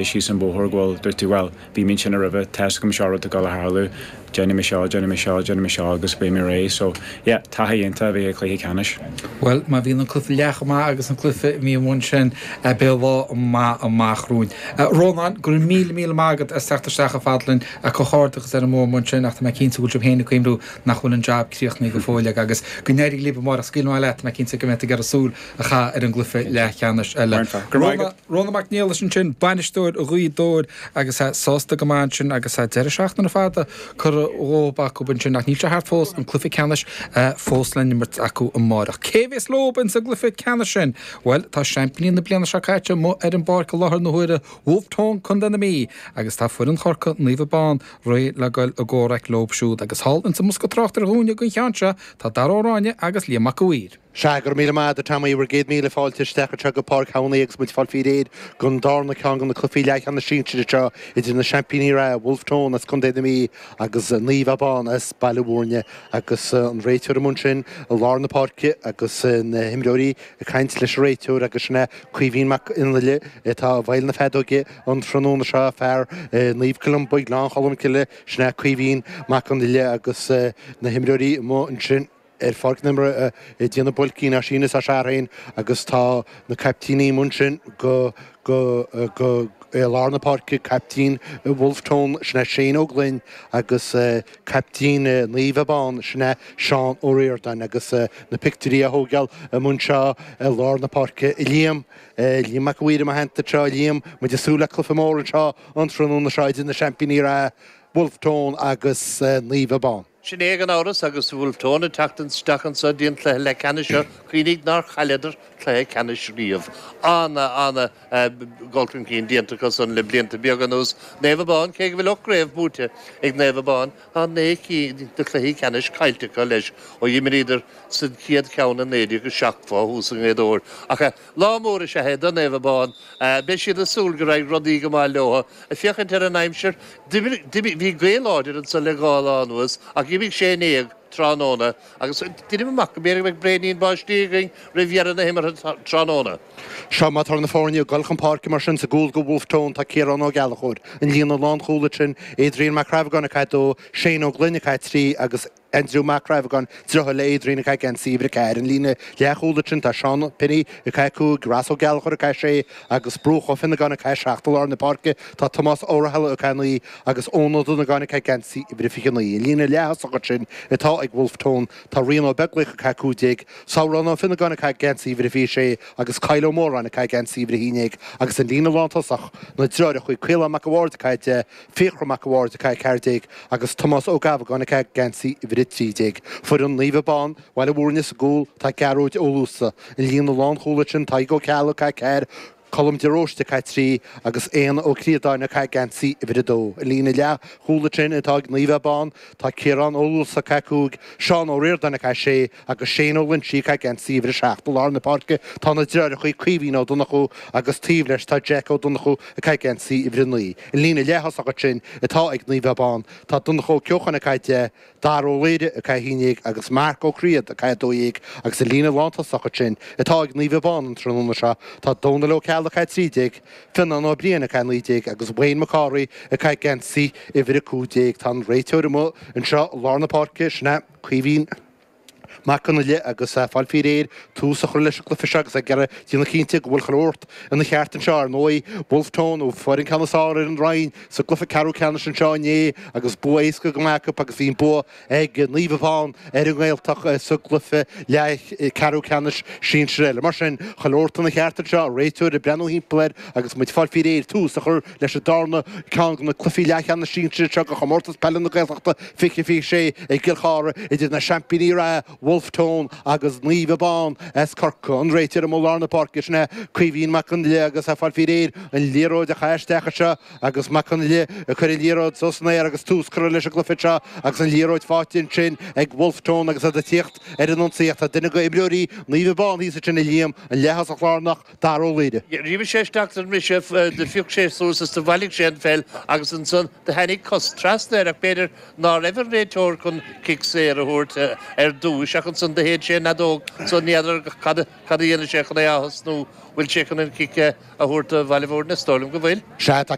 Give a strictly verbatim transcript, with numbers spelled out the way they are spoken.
Síos an bóthar go bhfuil dúirt tú well bhí mé ansin roimhe tá a fhios agam seo rud ag dul a tharlú déanfaidh mé seo déanfaidh mé seo déanfaidh mé seo agus beidh mé réidh so yeah taithí iontach a bhí ag cluiche ceannais. Well má bhíonn an cluiche leath maith agus an cluiche mí amháin sin beidh lá maith amach romhainn. Rónán go raibh míle míle maith agat as teacht isteach a fhad linn a comhghairdeachas ar an mbua sin ach tá mé cinnte go bhfuil sibh féin ag cuimhniú nach bhfuil an job críochnaithe go fóill agus go n-éirí libh amárach scaoil maith leat mé cinnte go mbeidh ag súil a cha ar an gcluiche leathcheannais eile. Rónán Mac Niallais ansin bainisteoir Ghaoth Dobhair agus sásta go maith ansin agus deireadh seachtaine fada curtha dhóibh acu ansin ach níl sé thart fós an cluiche ceannais fós le n-imirt acu amárach. Cé bhéas leo sa gcluiche ceannais sin? Well tá seaimpíní na bliana seo caite amuigh ar an bpáirc i láthair na huaire Wolfe Tone Contae na Mí agus tá foireann Chorcaí Naomh Abán réidh le goil i gcomhrac leo siúd agus thall insa mbosca tráchtaire dhúinne don cheann seo tá Dara Ó Ráinne agus Liam Mac Uidhir. Sea go míle maith Tommy bhur gcéad míle fáilte isteach anseo go Páirc Shamhnaí agus muid fáil faoi réir don darna ceann de na cluichí leathcheannais sinsir anseo idir na seaimpíní reatha Wolfe Tone as Contae na Mí agus Naomh Abán as Baile Bhúirne agus an réiteoir amuigh ansin i lár na páirce agus na himreoirí ag caint leis an réiteoir agus sin é Caoimhín Mac Fhionnghaile atá i bhfeighil na feadóige an tráthnóna seo fear Naomh Columba Gleann Cholm Cille sin é Caoimhín Mac Fhionnghaile agus na himreoirí amuigh ansin ar pháirc na himeartha ag déanamh builcín as sín is as féin agus tá na caiptíní amuigh ansin go go go i lár na páirce caiptín Wolfe Tone sin é Shane Ó Gloinn agus caiptín Naomh Abán sin é Seán Ó Ríordáin agus na pictiúirí á dtógáil amuigh anseo i lár na páirce Liam Liam Mac Uidhir i mo theannta anseo Liam muid ag súil le cluiche mór anseo an tráthnóna seo idir na seaimpíní reatha Wolfe Tone agus Naomh Abán. Sin é gan amhras agus Wolfe Tone ag teacht isteach anseo don chluiche leathcheannais seo cuimhnigh nár chailleadar cluiche ceannais riamh. Ana ana dul chun cinn déanta acu san le blianta beaga anuas Naomh Abán cé go bhfuil ocht gcraobh buaite ag Naomh Abán tá naoi gcinn de chluichí ceannais caillte acu leis ó d'imríodar sa chéad cheann i naoi déag a seacht fá thús i nGaoth Dobhair. Ach lá mór is ea é do Naomh Abán beidh siad ag súil go raibh rudaí go maith leo ag féachaint ar an aimsir bhí gaoth láidir anseo le dhá lá anuas ach d'imigh sé in éag tráthnóna agus deinim amach go mb'fhéidir go mbeidh braoinín báistí againn roimh dheireadh na himeartha tráthnóna. Seo má tá na foirne ag dul chun páirce mar sin sa gcúl do Wolfe Tone tá Ciarán Ó Gallchóir. An líne lánchúil ansin Adrian Mac Crabhagáin ag caitheamh dó, Shane Ó Gloinn ag caitheamh trí agus Andrew Mac Crabhagáin deartháir le Adrian ag caitheamh geansaí uimhir a ceathair. An líne leathchúil ansin tá Seán Penny ag caitheamh cúig, Ross Ó Gallchóir ag caitheamh sé agus Brúch Ó Finnegáin ag caitheamh seacht i lár na páirce tá Tomás Ó Rathaille ag caitheamh naoi agus Eoin Ó Donnagáin ag caitheamh geansaí uimhir a fiche naoi. An líne leath-thosach ansin atá ag Wolfe Tone tá Rian Ó Beaglaoich ag caitheamh cúig déag, Sabhrán Ó Finnegáin ag caitheamh geansaí uimhir a fiche sé agus Kyle Ó Móráin ag caitheamh geansaí uimhir a haon déag agus an líne lántosach na deartháireacha Caolán Mac a' Bhaird ag caitheamh deich, Fiachra Mac a' Bhaird ag caitheamh ceathair déag agus Tomás Ó Gabhagáin ag caitheamh geansaí uimhir a trí déag. Foireann Naomh Abán, Bhaile Bhúirne sa gcúl tá Gearóid Ó Luasa. An líne lánchúil ansin Tadhg Ó Ceallaigh ag caitheamh ceathair, Colm de Róiste ag caitheamh trí agus Éanna Ó Críodáin ag caitheamh geansaí uimhir a dó. An líne leathchúil ansin atá ag Naomh Abán tá Ciarán Ó Luasa ag caitheamh cúig, Seán Ó Ríordáin ag caitheamh sé agus Shane Ó Loinsigh ag caitheamh geansaí uimhir a seacht. I lár na páirce tá na deartháireacha Caoimhín Ó Donnchú agus taobh leis tá Jack Ó Donnchú ag caitheamh geansaí uimhir a naoi. An líne leath-thosach ansin atá ag Naomh Abán tá Donncha Ó Ceocháin ag caitheamh deich, Dara Ó Laoire ag caitheamh haon déag agus Marc Ó Críod ag caitheamh dó dhéag agus an líne lántosach ansin atá ag Naomh Abán an tráthnóna seo tá Dónal Ó Ceallaigh ag caitheamh trí déag, Fionnán Ó Briain ag caitheamh naoi déag agus Wayne McCorry ag caitheamh geansaí uimhir a cúig déag. Tá an réiteoir amuigh anseo i lár na páirce sin é Caoimhín Mac Fhionnghaile agus fáil faoi réir tús a chur leis an gcluiche seo agus ag iarraidh déanamh cinnte go bhfuil chuile shórt ina cheart anseo ar ndóigh Wolfe Tone ó fuair an ceann is fearr ar an Rinn sa gcluiche ceathrú ceannais anseo inné agus bua éasca go maith acu agus bhí an bua ag Naomh Abán ar an nGaeltacht sa gcluiche leath ceathrú ceannais sinsir eile. Mar sin chuile shórt ina cheart anseo réiteoir ag breathnú thimpeall air agus muid fáil faoi réir tús a chur leis an darna ceann de na cluichí leathcheannais sinsir seo de chomórtas peile na Gaeltachta fiche fiche sé i gCill Chartha idir na seaimpíní reatha Wolfe Tone agus Naomh Abán as Corcaigh. An réiteoir amuigh i lár na páirce sin é Caoimhín Mac Fhionnghaile agus é fáil faoi réir an liathróid a chaitheamh isteach anseo agus Mac Fhionnghaile ag cur an liathróid suas san aer agus tús curtha leis an gcluiche seo agus an liathróid faighte ansin ag Wolfe Tone agus iad ag tíocht ar an ionsaí ach tá duine de imreoirí Naomh Abán thíos ansin a Liam an leath-thosach lárnach Dara Ó Laoire. D'imigh sé isteach don mbriseadh, do phioc sé suas is do bhailigh sé an pheil agus ansan do tháinig cos trasna air ach b'fhéidir ná raibh an réiteoir chun cic saor a thabhairt ar dtús ach isteach ansan do shéid sé an fheadóg so ní fheadar cad cad a dhéanfaidh sé chun é a thosnú bhfuil sé chun an cic a thabhairt do Bhaile Bhúirne is dóigh liom go bhfuil. Sea tá